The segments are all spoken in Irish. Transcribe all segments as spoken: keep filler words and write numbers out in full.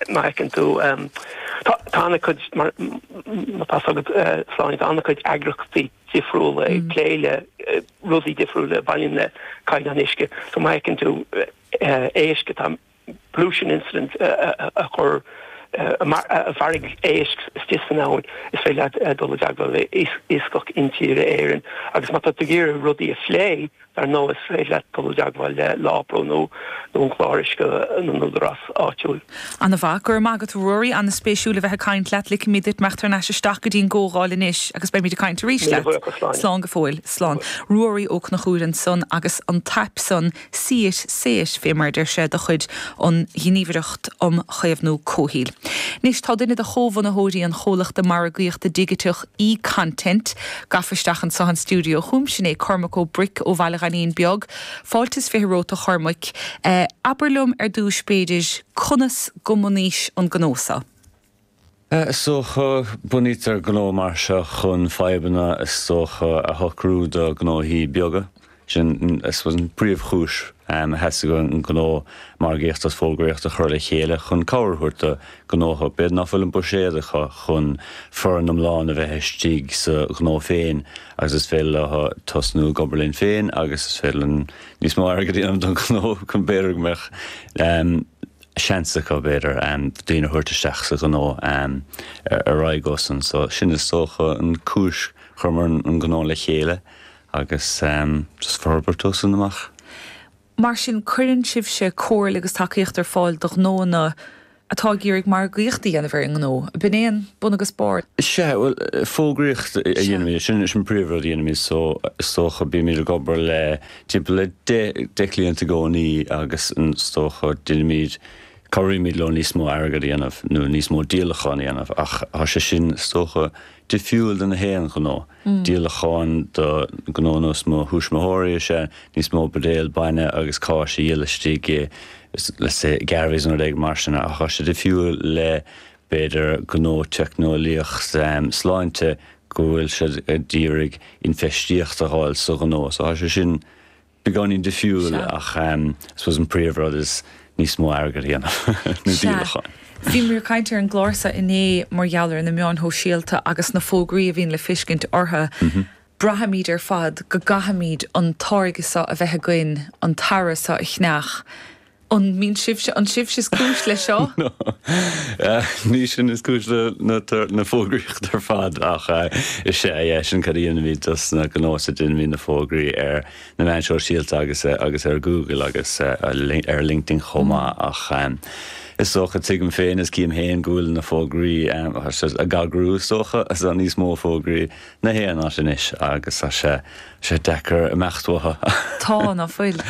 má fheiceann tú tá tá an-chuid mar má tá agat Sláine tá an-chuid eagraíochtaí difriúla ag plé le rudaí difriúla a bhaineann le caighdeán uisce so má fheiceann tú éisc atá pollution incident a chur a mharaigh éisc istigh san abhainn is féidir leat dul i dteagmháil le Iascach Intíre Éireann agus má tá tú ag iarraidh rudaí a phlé dar ndóigh is féidir leat dul i dteagmháil le LawPro nó nó an clár uisce na n-údarás áitiúil. Ana mhaith go raibh maith agat Ruairí an-spéisiúil a bheith ag caint leat ligfimid duit imeacht thar n-ais isteach go dtí an gcomhdháil anois agus beimid ag caint arís leat. Slán go fóill slán. Ruairí Ó Conchúir ansan agus an t-aip san See It Say It fé mar deir sé de chuid an Ghníomhaireacht um Chaomhnú Comhshaoil. Anois tá duine de chomhbhunaitheoirí an chomhlachta margaíochta digiteach eContent gafa isteach anseo an stiúideo chugam sin é Cormac Ó Bric ó Bhaile Ghainín Beag, Fáilte is fiche romhat a Chormaic. Eh, abair liom ar dtús b'fhéidir conas gur bunaíodh an gnó seo. Is dócha bunaítear gnó mar seo chun fadhbanna is dócha a shocrú do gnóthaí beaga. Sin is an príomhchúis a theastaigh an gnó margaíocht agus fógraíocht a chur le chéile chun cabhair a thabhairt do gnóthaí b'fhéidir nach bhfuil an buiséad acu chun foireann iomlán a bheith istigh sa ghnó féin agus is féidir leo tosnú ag obair linn féin agus is féidir linn níos mó airgead a dhéanamh don ghnó chun b'fhéidir go mbeadh seans acu b'fhéidir daoine a thabhairt isteach sa ghnó ar aghaidh ó san so sin is dócha an cúis chuireamar an gnó le chéile agus just forbairt ó san amach. Mar sin cuireann sibhse comhairle agus tacaíocht ar fáil do ghnóanna atá ag iarraidh margaíocht a dhéanamh ar an ngnó. B'in é an bun agus barr. Sea well fógraíocht a dhéanaimid sin sin príomhrud a dhéanaimid so is dócha bímid ag obair le timpeall le deich cliant i gcónaí agus is dócha déanaimid cabhraímid leo níos mó airgead a dhéanamh nó níos mó díolachán a dhéanamh ach tá sé sin is dócha difriúil do na haon ghnó. Díolacháin do gnó nós mo thuismitheoirí is ea níos mó buidéal bainne agus cáis a dhíol istigh i let's say Garveys nó rud éigin mar sin ach tá sé difriúil le b'fhéidir gnó teicneolaíocht sláinte go bhfuil siad ag iarraidh infheistíocht a fháil sa ghnó so tá sé sin beagáinín difriúil ach I suppose an príomhrud is níos mó airgead a dhéanamh nó díolacháin. Bhíomar ag caint ar an gclár seo inné mar gheall ar na meáin shóisialta agus na fógraí a bhíonn le feiscint orthu. Braithimid ar fad go gcaithfimid an táirge seo a bheith againn, an t-earra seo a cheannach. An mbíonn sibhse an sibhse is cúis le seo? No. Ní sin is cúis le na na fógraíocht ar fad ach is é yeah, sin cad a dhéanaimid dos na gnóthaí déanaimid na fógraí ar na meáin shóisialta agus agus ar Google agus ar LinkedIn chomh maith ach is dócha tuigim féin is cím féin go bhfuil na fógraí ag agrú is dócha is níos mó fógraí na haon áit anois agus tá sé sé deacair imeacht uathu. Tá ná fuil.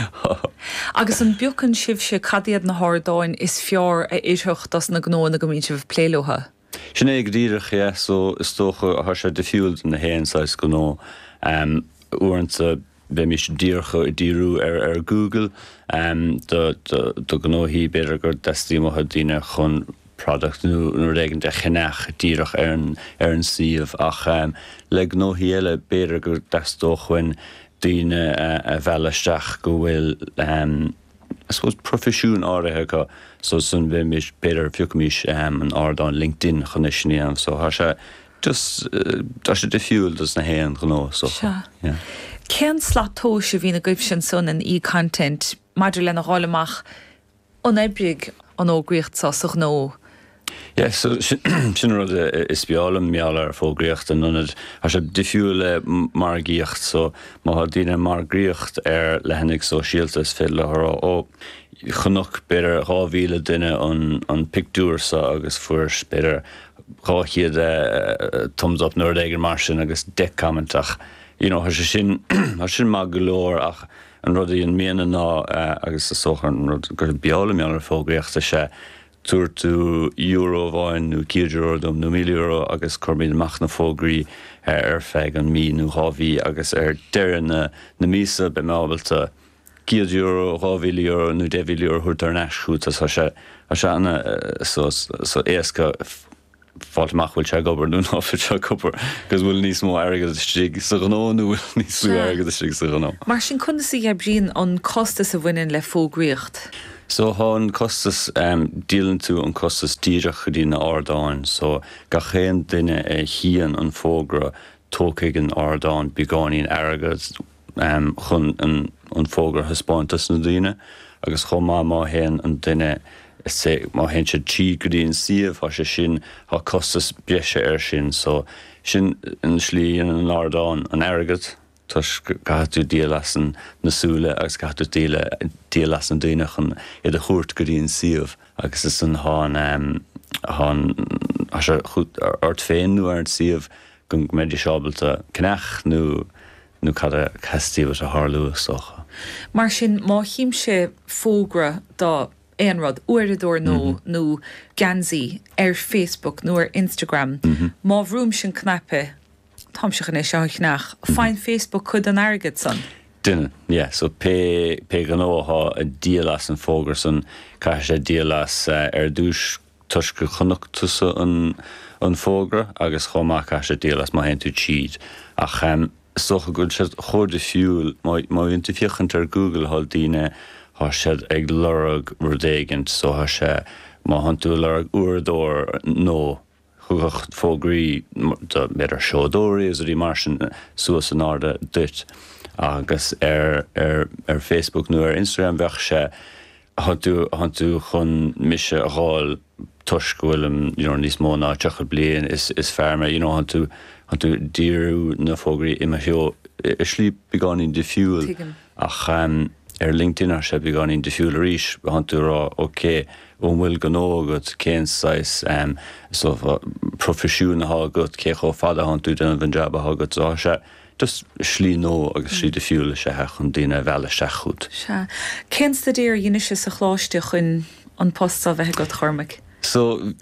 Agus an bpiocann sibhse cad iad na hardáin is fearr a oirfeadh dos na gnóanna go mbíonn sibh ag plé leo. Sin é go díreach yeah, so is dócha tá sé difriúil do na haon saghas gnó um, uaireanta bheimis díreach ag díriú ar ar Google um, do, do, do gnóthaí b'fhéidir go dteastaíonn uathu daoine chun product nó nó rud éigin de cheannach díreach ar an ar an suíomh ach um, le gnóthaí eile b'fhéidir go dteastódh uainn daoine a mhealladh isteach go bhfuil um, I suppose proifisiún áirithe acu so san bheimis b'fhéidir phiocfaimis um, an ardán LinkedIn chun é sin a dhéanamh so tá sé just uh, tá sé difriúil dos na haon ghnó so yeah. Cén slat tomhais a bhíonn agaibhse ansan in eContent maidir lena fháil amach an oibrigh an fhógraíocht seo sa ghnó? Yeah, so sin sin rud is breá liom mar gheall ar fógraíocht an ionad tá sé difriúil le margaíocht so má tá daoine margaíocht ar leathanaigh sóisialta is féidir leo a rá ó chonaic b'fhéidir dhá mhíle duine an an pictiúr seo agus fuair b'fhéidir dhá chéad thumbs up nó rud éigin mar sin agus deich comment ach you know, tá sé sin tá sin maith go leor ach an rud a dhéanaimidne ná agus is dócha an rud gur breá liom mar gheall ar fógraíocht is ea tabhair tú euro amháin nó céad euro dom nó míle euro agus cuirfimid amach na fógraí ar feadh an mí nó dhá mhí agus ar deireadh na na míosa beidh mé ábalta céad euro, dhá mhíle euro nó deich mhíle euro a thabhairt thar n-ais chugat tá sé tá sé ana so so éasca fáil amach bhfuil sé ag obair nó ná fuil sé ag obair agus bhfuil níos mó airgead istigh sa ghnó nó bhfuil níos lú airgead istigh sa ghnó. Mar sin conas a oibríonn an costas a bhaineann le fógraíocht? So thá an costas, díolann tú an costas díreach go dtí na ardáin, so gach aon duine a chíonn an fógra tógfaidh an ardán beagáinín airgead chun an fógra a thaispeáint dos na daoine agus chomh maith má théann an duine say má théann siad tríd go dtí an suíomh thá sé sin thá costas breise air sin so sin an slí a dhéanann an ardán an airgead. Toisc go gcaithfidh tú díol as na súile agus caithfidh tú díol as na daoine chun iad a thabhairt go dtí an suíomh agus ansan thá an, thá an, thá sé ort féin nó ar an suíomh go mbeidís ábalta ceannach nó, nó cad a theastaíonn uait a tharlú is dócha. Mar sin, má chímse fógra do aon rud, uaireadóir nó, nó geansaí ar Facebook nó ar Instagram, má bhrúimse an cnaipe, Táimse chun é seo a cheannach. Faigheann Facebook cuid den airgead san. Déanann, yeah. So pé, pé gnó athá ag díol as an fógra san, caithfidh sé díol as ar dtúis toisc gur chonaic tusa an, an fógra agus chomh maith caithfidh sé díol as má théann tú tríd. Ach is dócha go bhfuil siad chomh difriúil, má, má bhíonn tú ag féachaint ar Google thá daoine, thá siad ag lorg rud éigint so thá sé, má thánn tú ag lorg uaireadóir nó, Thiocfadh fógraí do b'fhéidir seodóirí agus rudaí mar sin suas in airde duit agus ar ar Facebook nó ar Instagram bheadh sé thánn tú thánn tú chun mise a dh'fháil toisc go bhfuilim you know níos mó ná tríocha bliain is is fear mé you know thánn tú thánn tú ag díriú na fógraí i mo threo i slí beagáinín difriúil Tuigim. ach ar LinkedIn thá sé beagáinín difriúil arís thánn tú ag rá ok An bhfuil gnó agat? Cén saghas proifisiún athá agat? Cé chomh fada athánn tú ag déanamh an jab athá agat? So tá sé just slí nua agus slí difriúil is ea chun daoine a mhealladh isteach chugat. Sea. Cén staidéar a dheinis sa choláiste chun an post seo a bheith agat, a Chormaic? So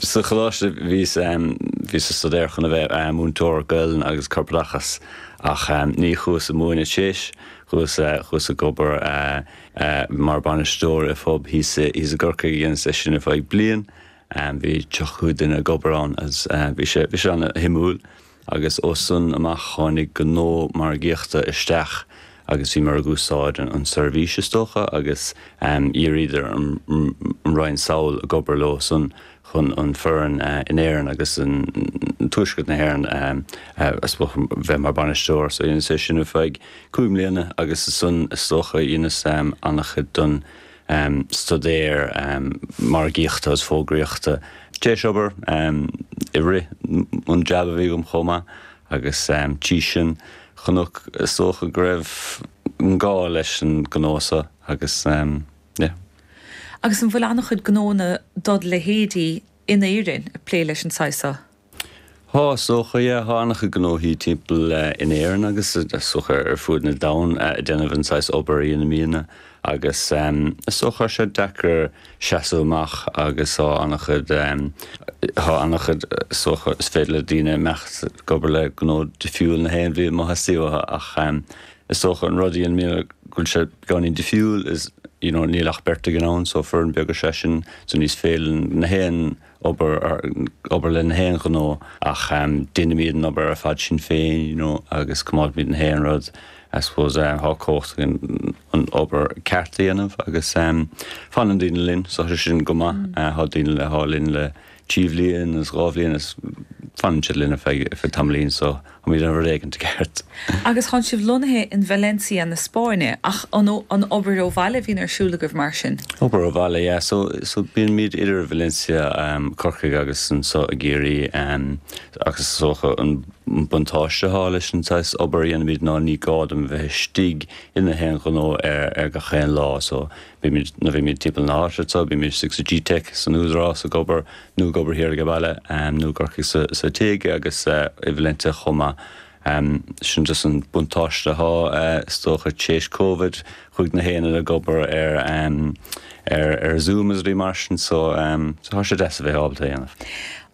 sa choláiste bhíos bhíos ag staidéar chun a bheith múinteoir Gaelainn agus Corpoideachas ach ní chuas ag múineadh tar éis, chuas chuas ag obair mar bainisteoir i phub thíos i gCorcaigh dheineas é sin ar feadh bliain. Bhí tríocha cúig duine ag obair ann agus bhí sé bhí sé ana-shuimiúil agus ó san amach tháinig gnó margaíochta isteach agus bhíomar ag úsáid an seirbhís is dócha agus d'iarraíodar an Roinn sall ag obair leo san chun an foireann in Éirinn agus in Tuaisceart na hÉireann I suppose bheith mar bainisteoir. So dheineas é sin ar feadh cúig mbliana agus ansan is dócha dheineas an-chuid don staidéar margaíochta agus fógraíochta tar éis obair i rith an jab a bhí agam chomh maith agus trí sin chonac is dócha go raibh an gá leis an gnó seo agus yeah. Agus an bhfuil an-chuid gnónna dod leithéidí in Éirinn ag plé leis an saghas seo? Thá, is dócha, yeah, thá an-chuid gnóthaí timpeall in Éirinn agus is dócha ar fuaid na domhan ag déanamh an saghas obair a dhéanaimidne agus is dócha thá sé deacair seasamh amach agus thá an-chuid, thá an-chuid, is dócha, is féidir le daoine imeacht ag obair le gnó difriúil na haon bhliain má theastaíonn uathu ach is dócha an rud a dhéanaimidne go bhfuil sé beagáinín difriúil is you know níl ach beirt againn ann so foireann beag is ea sin so ní féidir linn na haon obair obair le na haon ghnó ach déanaimid an obair ar fad sinn féin you know agus coimeádaimid na haon rud I suppose thá cumhacht againn an obair ceart a dhéanamh agus fanann daoine linn so tá sé sin go maith thá daoine le thá linn le trí bhliain agus dhá bhliain is fanann siad linn ar feadh ar feadh tamaillín so táimid ag déanamh rud éigin ceart. Agus tánn sibh lonnaithe in Valencia na Spáinne ach an an obair ó bhaile a bhíonn ar siúl agaibh mar sin? Obair ó bhaile, yeah. So so bíonn muid idir Valencia, Corcaigh agus anseo i gCiarraí agus is dócha an buntáiste atá leis an saghas obair a dhéanaimid ná ní gá dom a bheith istigh i na haon ghnó ar ar gach aon lá so Bímid, nuair a bhímid timpeall na háite anseo, bímid istigh sa G-Tech san Údarás ag obair, nó ag obair thiar ag baile, nó i gCorcaigh sa, sa tigh agus i Valencia chomh maith. Sin just an buntáiste athá, is dócha, tar éis Covid, chuaigh na haon duine ag obair ar, ar, ar Zoom is rudaí mar sin, so, so thá sé deas a bheith ábalta é a dhéanamh.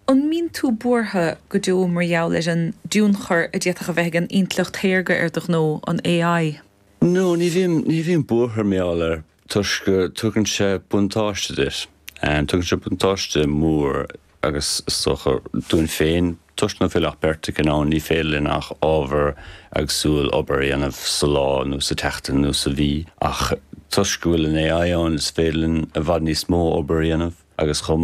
An mbíonn tú buartha go deo mar gheall ar an dtionchar a d'fhéadfadh a bheith ag an intleacht shaorga ar do ghnó, an AI? No, ní bhím, ní bhím buartha mar gheall air toisc go tugann sé buntáiste duit. Tugann sé buntáiste mór agus is dócha dúinn féin, toisc nach bhfuil ach beirt againn ann, ní féidir linn ach ábhar éagsúil obair a dhéanamh sa lá nó sa tseachtain nó sa mhí ach Toisc go bhfuil an AI ann is féidir linn i bhfad níos mó obair a dhéanamh agus chomh maith